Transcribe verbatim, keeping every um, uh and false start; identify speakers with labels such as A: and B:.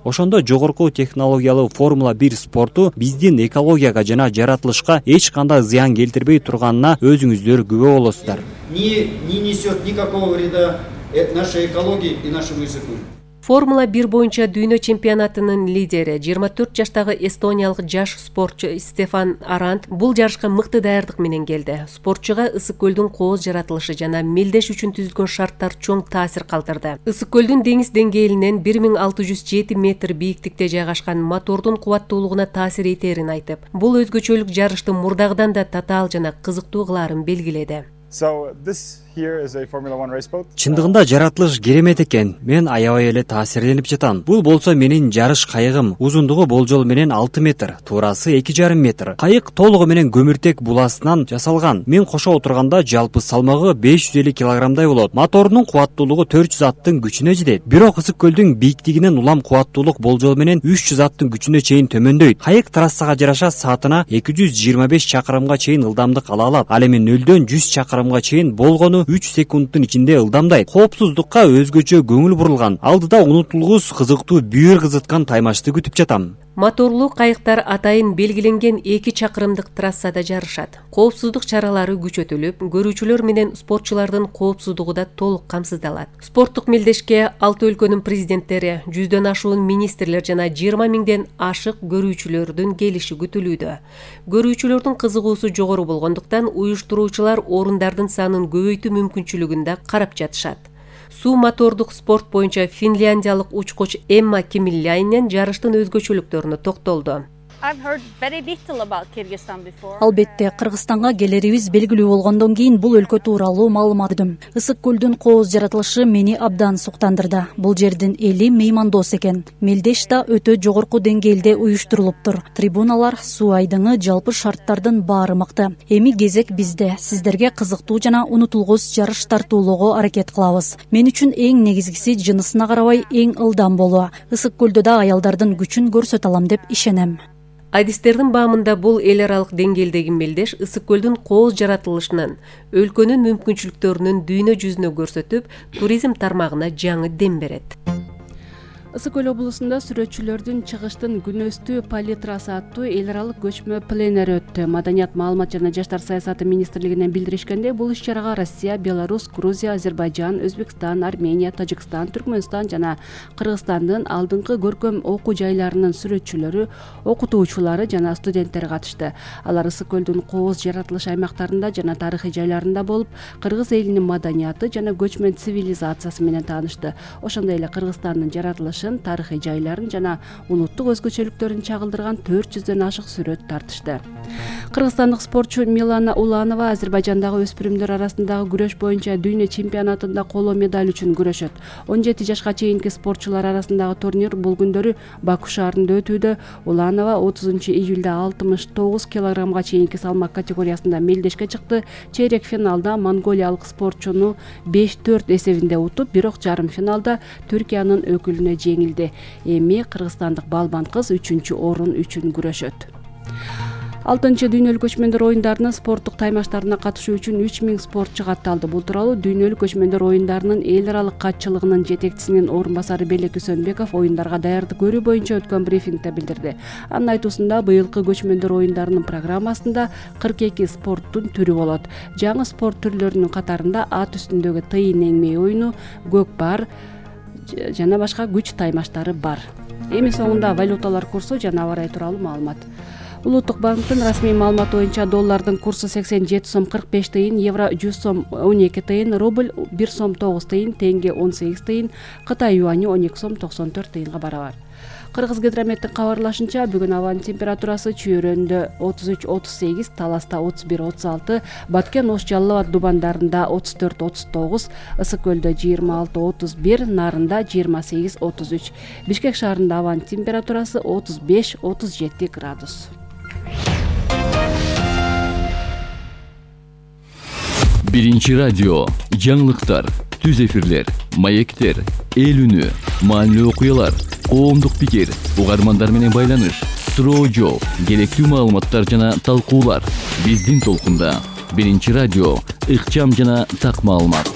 A: Ошондо жогорку технологиялуу Формула бир спорту биздин экологияга жана жаратылышка эч кандай зыян келтирбей турганына өзүңүздөр күбө болосуздар.
B: Не, не несет никакого вреда нашей экологии и нашему языку.
C: Формула бир боюнча дүйнө чемпионатынын лидери жыйырма төрт жаштагы эстониялык жаш спортчу Стефан Арант бул жарышка мыкты даярдык менен келди. Спортчуга ысык көлдүн кооз жаратылышы жана мелдеш үчүн түзүлгөн шарттар чоң таасир калтырды. Ысык көлдүн деңиз деңгээлинен бир миң алты жүз жети метр бийиктикте жайгашкан мотордун кубаттуулугуна таасир этерин айтып, бул өзгөчөлүк жарышты мурдагыдан да татаал жана кызыктуу кылаарын белгиледи.
A: Чындыгында жаратылыш керемет экен. Мен аябай эле таасирленип жатам. Бул болсо менин жарыш кайыгым. Узундугу болжол менен алты метр, туурасы эки жарым метр. Кайык толугу менен көмүртек буласынан жасалган. Мен кошо отурганда жалпы салмагы беш жүз элүү килограммдай болот. Моторунун кубаттуулугу төрт жүз аттын күчүнө жетет. Бирок ысык көлдүн бийиктигинен улам кубаттуулук болжол менен үч жүз аттын күчүнө чейин төмөндөйт. Кайык трассага жараша саатына эки жүз жыйырма беш чакырымга чейин ылдамдык ала алат. Ал эми нөлдөн жүз чакырымга чейин болгону үч секундтун ичинде ылдамдайт. Коопсуздукка өзгөчө көңүл бурулган. Алдыда унутулгус кызыктуу бүйүр кызыткан таймашты күтүп жатам.
C: Моторлуу кайыктар атайын белгиленген эки чакырымдык трассада жарышат. Коопсуздук чаралары күчөтүлүп, көрүүчүлөр менен спортчулардын коопсуздугу да толук камсыздалат. Спорттук мелдешке алты өлкөнүн президенттери, жүздөн ашуун министрлер жана жыйырма миңден ашык көрүүчүлөрдүн келиши күтүлүүдө. Көрүүчүлөрдүн кызыгуусу жогору болгондуктан уюштуруучулар орундардын санын көбөйтүү мүмкүнчүлүгүн да карап жатышат. Суу мотордук спорт боюнча финляндиялык учкуч Эмма Кемилляйнен жарыштын өзгөчөлүктөрүнө токтолду.
D: Албетте, Кыргызстанга келерибиз белгилүү болгондон кийин бул өлкө тууралуу маалымат көрдүм. Ысык көлдүн кооз жаратылышы мени абдан суктандырды. Бул жердин эли меймандос экен. Мелдеш да өтө жогорку деңгээлде уюштурулуптур. Трибуналар, суу айдыңы, жалпы шарттардын баары мыкты. Эми кезек бизде. Сиздерге кызыктуу жана унутулгус жарыш тартуулоого аракет кылабыз. Мен үчүн эң негизгиси жынысына карабай эң ылдам болуу. Ысык көлдө да аялдардын күчүн көрсөтө алам деп ишенем.
C: Адистердин баамында бул эл аралык деңгээлдеги мелдеш ысык көлдүн кооз жаратылышынын, өлкөнүн мүмкүнчүлүктөрүнүн дүйнө жүзүнө көрсөтүп, туризм тармагына жаңы дем берет.
E: Ысык көл облусунда сүрөтчүлөрдүн чыгыштын күнөстүү палитрасы аттуу эл аралык көчмө пленер өттү. Маданият, маалымат жана жаштар саясаты министрлигинен билдиришкенде, бул иш-чарага Россия, Беларусь, Грузия, Азербайжан, Өзбекстан, Армения, Тажикстан, Түркмөнстан жана Кыргызстандын алдыңкы көркөм окуу жайларынын сүрөтчүлөрү, окутуучулары жана студенттер катышты. Алар ысык көлдүн кооз жаратылыш аймактарында жана тарыхый жайларында болуп, кыргыз элинин маданияты жана көчмөн цивилизациясы менен таанышты. Ошондой эле Кыргызстандын жаратылышы, тарыхый жайларын жана улуттук өзгөчөлүктөрүн чагылдырган төрт жүздөн ашык сүрөт тартышты. Кыргызстандык спортчу Милана Уланова Азербайжандагы өспүрүмдөр арасындагы күрөш боюнча дүйнө чемпионатында коло медаль үчүн күрөшөт. он жети жашка чейинки спортчулар арасындагы турнир бул күндөрү Баку шаарында өтүүдө. Уланова отузунчу июлда алтымыш тогуз килограммга чейинки салмак категориясында мелдешке чыкты. Чейрек финалда монголиялык спортчуну беш төрт эсебинде утуп, бирок жарым финалда Түркиянын өкүлүнө жеңилди. Эми кыргызстандык балбан кыз үчүнчү орун үчүн күрөшөт. алтынчы дүйнөлүк көчмөндөр оюндарынын спорттук таймаштарына катышуу үчүн үч миң спортчу катталды. Бул тууралуу дүйнөлүк көчмөндөр оюндарынын эл аралык катчылыгынын жетекчисинин орун басары Белек Үсөнбеков оюндарга даярдык көрүү боюнча өткөн брифингде билдирди. Анын айтуусунда, быйылкы көчмөндөр оюндарынын программасында кырк эки спорттун түрү болот. Жаңы спорт түрлөрүнүн катарында ат үстүндөгү тыйын эңмей оюну, көк бар жана башка күч таймаштары бар. Эми соңунда валюталар курсу жана аба ырайы тууралуу маалымат. Улуттук банктын расмий маалыматы боюнча доллардын курсу сексен жети сом кырк беш тыйын, евро жүз сом он эки тыйын, рубль бир сом тогуз тыйын, тенге он сегиз тыйын, Кытай юаньы он эки сом токсон төрт тыйынга барабар. Кыргыз гидрометтин кабарлашынча, бүгүн абанын температурасы Чүйөрөндө отуз үч отуз сегиз, Таласта отуз бир отуз алты, Баткен, Ош, Жалал Абад дубандарында отуз төрт отуз тогуз, Ысык көлдө жыйырма алты отуз бир, Нарында жыйырма сегиз отуз үч. Бишкек шаарында абанын температурасы отуз беш отуз жети градус.
F: Биринчи радио, жаңылыктар, түз эфирлер, маектер, эл үнү, маанилүү окуялар, коомдук пикир, угармандар менен байланыш, суроо жооп, керектүү маалыматтар жана талкуулар. Биздин толкунда. Биринчи радио, ыкчам жана так маалымат.